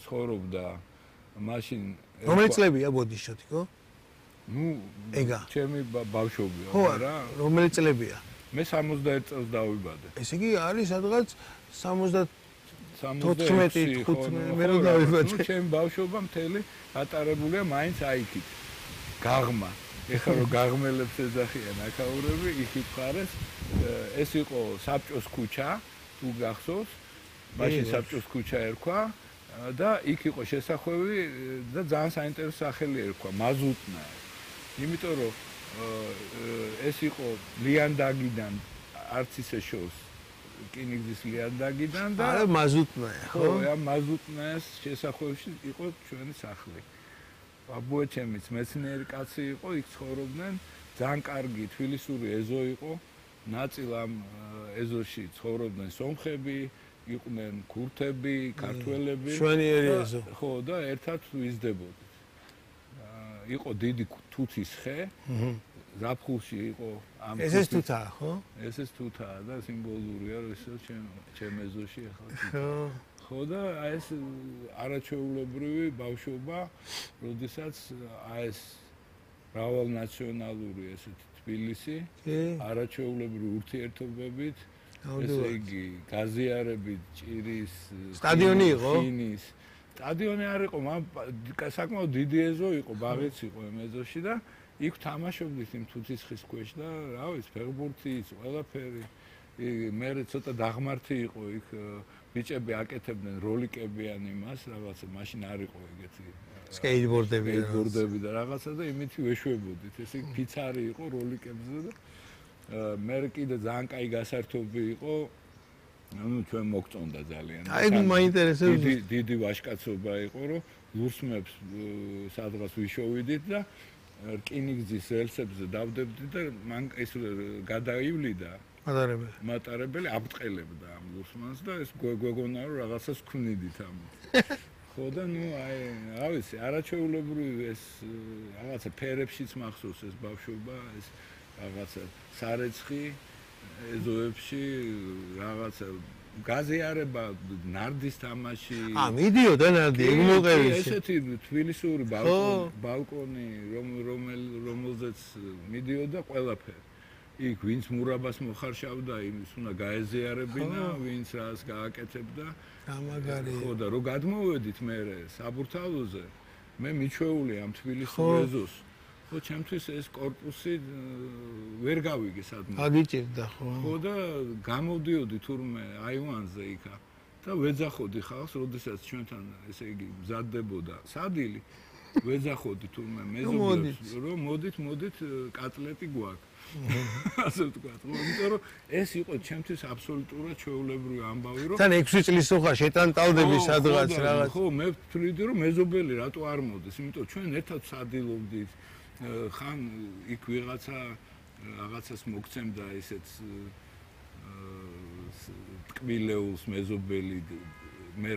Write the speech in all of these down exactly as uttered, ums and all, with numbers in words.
ცხოვრობდა მაშინ რომელი წლებია ბოდიშოთი ხო? ნუ ეგა ჩემი ბავშვობია ხო რა რომელი წლებია? მე სამოცდაერთ წელს დავიბადე. ესე იგი არის სადღაც სამოცდათხმეტი თხუთმეტი მე რო დავიბადე. ნუ ჩემი ბავშვობა მთელი ატარებულია მაინც აიქით. გაღმა. ეხლა რო გაღმელებს ეძახიან აქაურები, იქ იფხარეს. ეს იყო საბჭოს ქუჩა, თუ გახსოვს. მაშინ საბჭოს ქუჩა ერქვა და იქ იყო შესახვევი და ძალიან საინტერესო სახელი ერქვა მაზუტნა. იმიტომ რომ ეს იყო ლიანდაგიდან არც ისე შორს რკინიგზის ლიანდაგიდან და არა მაზუტნაა ხო? ხო, ამ მაზუტნას შესახვევში იყო ჩვენი სახლი. ბაბუეჩემიც მეცნიერი კაცი იყო, იქ ცხოვრობდნენ, ძალიან კარგი თბილისური ეზო იყო, ნაწილ ამ ეზოში ცხოვრობდნენ სომხები, იყვნენ ქურთები, ქართველები. შვენიერი ეზო. ხო, და ერთად ვიზრდებოდით. იყო დიდი თუთის ხე. აჰა. ზაფხულში იყო ამ ესეც თუთაა, ხო? ესეც თუთაა და სიმბოლურია, რომ ისე ჩემ ჩემ ეზოში ახლა. ხო. ხო და აი ეს არაჩვეულებრივი ბავშვობა, როდესაც აი ეს მრავალნაციონალური ესეთი თბილისი, არაჩვეულებრივი ურთიერთობებით, ესე იგი, გაზიარებით, ჭირის, სტადიონი იყო? ხინის. სტადიონი არ იყო, საკმაოდ დიდი ეზო იყო, ბაღიც იყო ამ ეზოში და იქ თამაშობდით იმ თუთის ხის ქვეშ და რა ვიცი, ფეხბურთის, ყველაფერი. მე ცოტა დაღმართი იყო იქ ბიჭები აკეთებდნენ როლიკებიან იმას, რაღაცა მაშინ არ იყო ეგეთი სკეიტბორდები სკეიტბორდები და რაღაცა და იმით ვეშვებოდით. ესე იგი ფიცარი იყო როლიკებზე და მე კიდე ძალიან კაი გასართობი იყო. ანუ ჩვენ მოგწონდა ძალიან. აი მაინტერესებს. დიდი დიდი ვაჟკაცობა იყო, რომ ლურსმებს სადღაც ვიშოვიდით და რკინიგზის რელსებზე დავდებდით და მან ეს გადაივლიდა მატარებელი. მატარებელი აბტყელებდა ამ ლურსმანს და ეს გვეგონა რომ რაღაცას ვქმნიდით ამით. ხო და ნუ აი, რა ვიცი, არაჩვეულებრივი ეს რაღაცა ფერებშიც მახსოვს ეს ბავშვობა, ეს რაღაცა სარეცხი ეზოებში რაღაცა გაზიარება, ნარდის თამაში. ა მიდიოდა ნარდი, ეგ მოყევი. ესეთი თბილისური ბალკონი, ბალკონი, რომელზეც მიდიოდა ყველაფერი. იქ ვინც მურაბას მოხარშავდა, იმის უნდა გაეზიარებინა, ვინც რას გააკეთებდა. გამაგარი. ხო და რო გადმოვედით მე საბურთალოზე, მე მიჩვეული ამ თბილისურ ეზოს. ხო, ჩემთვის ეს კორპუსი ვერ გავიგე სადმე. აგიჭირდა ხო. ხო და გამოვდიოდი თურმე აივანზე იქა და ვეძახოდი ხალხს, როდესაც ჩვენთან ესე იგი მზადდებოდა სადილი, ვეძახოდი თურმე მეზობლებს, რომ მოდით, მოდით კატლეტი გვაქვს. ასე ვთქვა, იმიტომ რომ ეს იყო ჩემთვის აბსოლუტურად ჩვეულებრივი ამბავი, რომ თან ექვსი წლის ხარ შეტანტალდები სადღაც რაღაც. ხო, მე ვთვლიდი რომ მეზობელი რატო არ მოდის, იმიტომ ჩვენ ერთად სადილობდით. ხან იქ ვიღაცა რაღაცას მოგცემდა ისეთ ტკბილეულს მეზობელი მე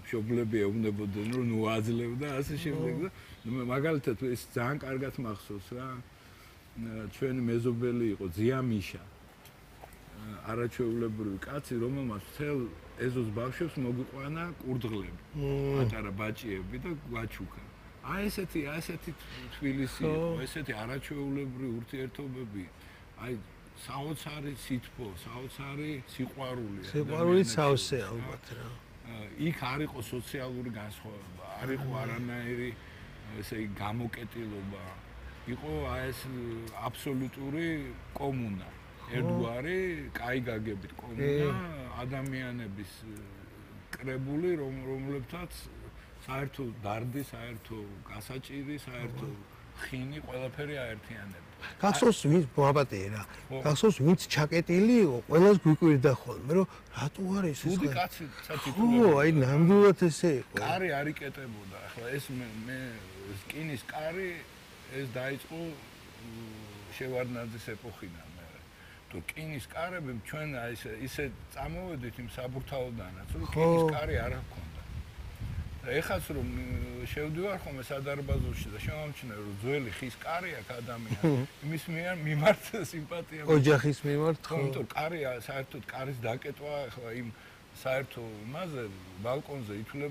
მშობლები ეუბნებოდნენ რომ ნუ აძლევდა ასე შემდეგ და მაგალითად ეს ძალიან კარგად მახსოვს რა ჩვენი მეზობელი იყო ზიამიშა არაჩვეულებრივი კაცი რომელმაც მთელ ეზოს ბავშვებს მოგიყვანა კურდღლები პატარა ბაჭიები და გვაჩუქა აი ესეთი აი ესეთი თბილისი იყო ესეთი არაჩვეულებრივი ურთიერთობები აი საოცარი სითბო საოცარი სიყვარული სიყვარული სავსე ალბათ რა იქ არ იყო სოციალური განსხვავება არ იყო არანაირი ესე იგი გამოკეტილობა იყო აი ეს აბსოლუტური კომუნა ერთგვარი კაი გაგებით კომუნა ადამიანების კრებული რომლებთაც საერთო დარდი, საერთო გასაჭირი, საერთო ხინი, ყველაფერი აერთიანებდა. გახსოვს ვინც მოაპატიე რა. გახსოვს ვინც ჩაკეტილი იყო, ყველას გვიკვირდა ხოლმე, რომ რატო არის ეს? უდი კაცი სათითო. ხო, აი ნამდვილად ესე იყო. კარი არ იკეტებოდა. ახლა ეს მე სკინის კარი ეს დაიწყო შევარდნაძის ეპოქიდან მე. თუ სკინის კარები ჩვენ აი ესე ისე წამოვედით იმ საბურთალოდანაც, რომ სკინის კარი არ ჰქონდა. ეხაც რომ შევდივარ ხოლმე სადარბაზოში და შემამჩნევ რომ ძველი ხის კარი აქვს ადამიანს იმის მიმართ სიმპათია ოჯახის მიმართ ხო იმიტომ კარი საერთოდ კარის დაკეტვა ახლა იმ საერთო იმაზე ბალკონზე ითვლება